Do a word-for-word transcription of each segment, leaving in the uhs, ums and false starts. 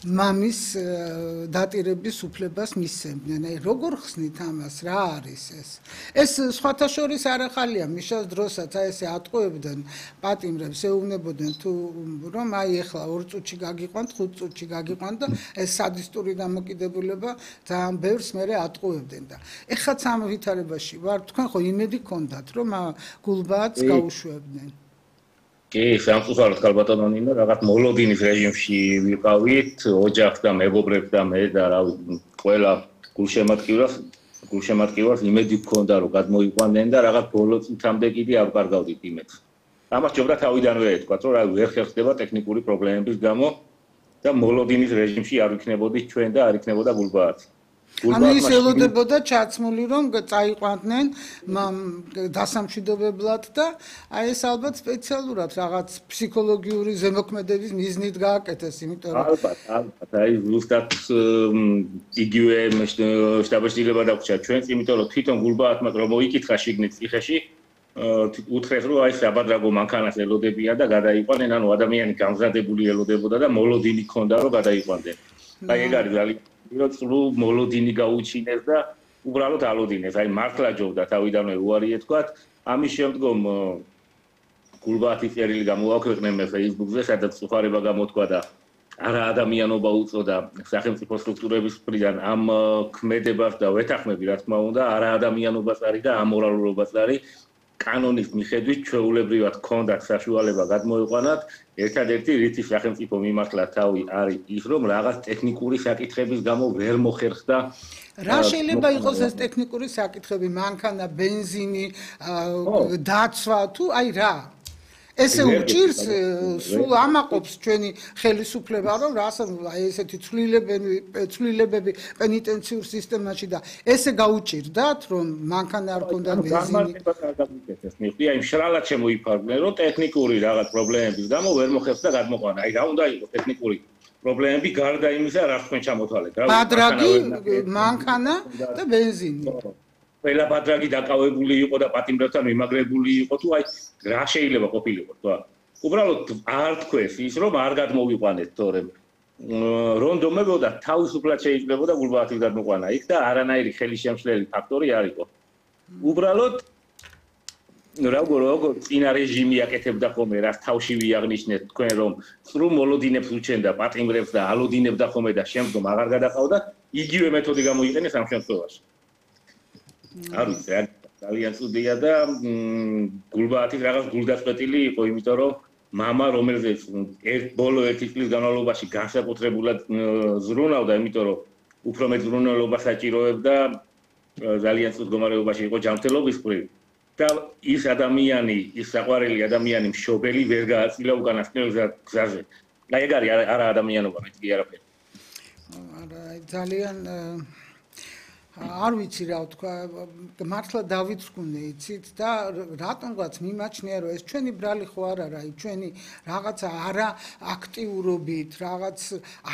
მამის დატირების უფლებას მისცემდნენ. აი როგორ ხსნით ამას, რა არის ეს? ეს სხვათა შორის არ ახალია, მიშას დროსაც აი ესე ატყუებდნენ პატიმრებს, ეუბნებოდნენ თუ რომ აი ეხლა ორ წუთში გაგიყვანთ, ხუთ წუთში გაგიყვანთ და ეს სადისტური დამოკიდებულება ძალიან ბევრს მერე ატყუებდნენ და ეხლაც ამ ვითარებაში ვარ, თქვენ ხო იმედი გქონდათ რომ გულბაათს გაუშვებდნენ? კი, სამწუხაროდ ქალბატონო ნინო, რაღაც მოლოდინის რეჟიმში ვიყავით, ოჯახს და მეგობრებს და მე და რა ყველა გულშემატკივრას, გულშემატკივარს იმედი გქონდა რომ გადმოიყვანდნენ და რაღაც ბოლო წუთამდე კიდე არ ვკარგავდით იმედს. ამას ჯობდა თავიდანვე ეთქვათ, რომ რა ვერ ხერხდება ტექნიკური პრობლემების გამო და მოლოდინის რეჟიმში არ ვიქნებოდით ჩვენ და არ იქნებოდა გულბაათი. ანუ ის ელოდებოდა ჩაცმული რომ წაიყვანდნენ დასამშვიდობებლად და აი ეს ალბათ სპეციალურად რაღაც ფსიქოლოგიური ზემოქმედების მიზნით გააკეთეს, იმიტომ რომ ალბათ, ალბათ, აი ზუსტად იგივე შტაბ-ჩრდილება დაგვრჩა ჩვენს, იმიტომ რომ თვითონ გულბაათმა რომ მოიკითხა შიგნით ციხეში, უთხრეს რომ აი საბადრაგო მანქანას ელოდებიან და გადაიყვანენ, ანუ ადამიანი გამზადებული ელოდებოდა და მოლოდინი ჰქონდა რომ გადაიყვანდნენ. აი ეგ არის ძალიან რო მოლოდინი გაუჩინეს და უბრალოდ ალოდინეს. აი მართლა ჯობდა თავიდანვე უარი ეთქვათ. ამის შემდგომ გულბაათის წერილი გამოვაქვეყნე მე Facebook-ზე, სადაც სუხარება გამოთქვა და არა ადამიანობა უწოდა სახელმწიფო სტრუქტურების მხრიდან ამ ქმედებას და ვეთანხმები, რა თქმა უნდა, არა ადამიანობას არის და ამორალურობას არის. კანონის მიხედვით ჩვეულებრივად ჰქონდათ საშუალება გადმოიყვანათ, ერთადერთი რითი სახელმწიფო მიმართლა თავი არის ის, რომ რაღაც ტექნიკური საკითხების გამო ვერ მოხერხდა. რა შეიძლება იყოს ეს ტექნიკური საკითხები, მანქანა, ბენზინი, დაცვა თუ აი რა? ესე უჭირს სულ ამაყობს ჩვენი ხელისუფლება რომ რასაც აი ესეთი ცვლილებები ცვლილებები პენიტენციურ სისტემაში და ესე გაუჭირდათ რომ მანქანა არ ქონდა ბენზინი მიხდი აი მშრალად შემოიფარგნენ რომ ტექნიკური რაღაც პრობლემების გამო ვერ მოხერხდა გადმოყვანა აი რა უნდა იყოს ტექნიკური პრობლემები გარდა იმისა რა თქვენ ჩამოთვალეთ რა ბადრაგი მანქანა და ბენზინი ყველა ბადრაგი დაკავებული იყო და პატიმრებთან მიმაგრებული იყო თუ აი რა შეიძლება ყოფილიყო თქო უბრალოდ არ თქვეს ის რომ არ გადმოვიყვანეთ თორემ რონდომებოდა თავისუფლად შეიძლებოდა გულბაათის გადმოყვანა იქ და არანაირი ხელისშემშლელი ფაქტორი არ იყო უბრალოდ როგორ როგორ წინა რეჟიმი აკეთებდა ხოლმე რაც თავში ვიაღნიშნეთ თქვენ რომ სრულ მოლოდინებს უჩენდა პატიმრებს და ალოდინებდა ხოლმე და შემდგომ აღარ გადაყავდა იგივე მეთოდი გამოიყენეს ამ შემთხვევაში არ ვიცი ძალიან ცუდია და გულბაათის რაღაც გულდაწყვეტილი იყო იმიტომ რომ მამა რომელზეც ერთ ბოლო ერთი წლის განმავლობაში განსაკუთრებულად ზრუნავდა იმიტომ რომ უფრო მეტ ზრუნველობას საჭიროებდა ძალიან ცუდ მდგომარეობაში იყო ჯანმრთელობის მხრივ და ის ადამიანი ის საყვარელი ადამიანი მშობელი ვერ გააწილა უკანასკნელ გზაზე აი ეგ არის არა ადამიანობა მე კი არაფერი არა ძალიან არ ვიცი რა თქვა მართლა დავიწყუნე იცით და რატომღაც მიმაჩნია რომ ეს ჩვენი ბრალი ხო არ არა აი ჩვენი რაღაც არა აქტიურობით რაღაც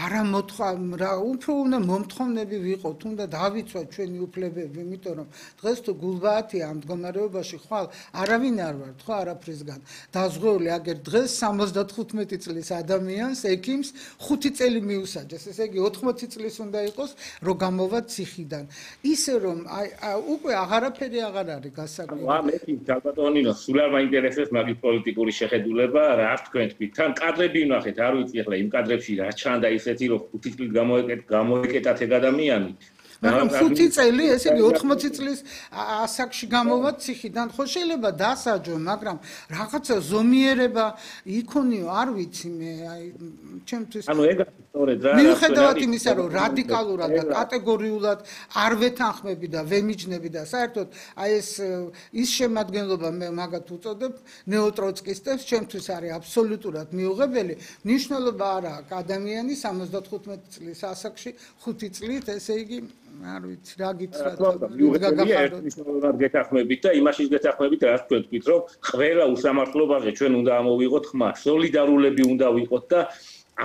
არა მოთხა რა უფრო უნდა მომთხოვნები ვიყოთ უნდა დავიცვათ ჩვენი უფლებები იმიტომ რომ დღეს თუ გულბაათია ამ მდგომარეობაში ხვალ არავინ არ ვართ ხო არაფრისგან დაზღვეული აგერ დღეს სამოცდათხუთმეტი წლის ადამიანს ექიმს ხუთი წელი მიუსაჯეს ესე იგი ოთხმოცი წლის უნდა იყოს რომ გამოვა ციხიდან ისე რომ აი უკვე აღარაფერი აღარ არის გასაგები. აა მე კი ქალბატონინო სულ არ მაინტერესებს მაგის პოლიტიკური შეხედულება, რა თქვენ თქვით. თან კადრები ვნახეთ, არ ვიცი ახლა იმ კადრებში რა ჩანდა ისეთი რომ ხუთი წელი გამოეკეთ გამოეკეტათ ეგ ადამიანი. მაგრამ ხუთი წელი, ესე იგი ოთხმოცი წლის ასაკში გამოვა ციხიდან, ხო შეიძლება დასაჯო, მაგრამ რაღაცა ზომიერება იქონიო, არ ვიცი მე, აი ჩემთვის ანუ ეგ სწორედ რა მიუხედავად იმისა, რომ რადიკალურად და კატეგორიულად არ ვეთანხმები და ვემიჯნები და საერთოდ აი ეს ის შემადგენლობა მე მაგათ უწოდებ ნეოტროცკისტებს, ჩემთვის არის აბსოლუტურად მიუღებელი, მნიშვნელობა არა აქვს ადამიანი სამოცდათხუთმეტი წლის ასაკში ხუთი წლით, ესე იგი არ ვიცი რა გითხრათ გაგახაროთ გეთახმებით და იმაშიც გეთახმებით რა თქვენ თქვით რომ ყველა უსამართლობაზე ჩვენ უნდა ამოვიღოთ ხმა სოლიდარულები უნდა ვიყოთ და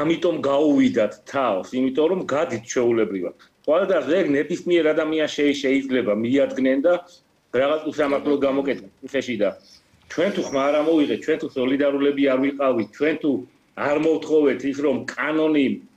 ამიტომ გაუვიდათ თავს იმიტომ რომ გადით ჩვეულებრივად ყველგან ეგ ნებისმიერ ადამიანს შეიძლება მიადგნენ და რაღაც უსამართლო გამოკეთდეს ციხეში და ჩვენ თუ ხმა არ ამოვიღეთ ჩვენ თუ სოლიდარულები არ ვიყავით ჩვენ თუ არ მოვთხოვეთ ის რომ კანონი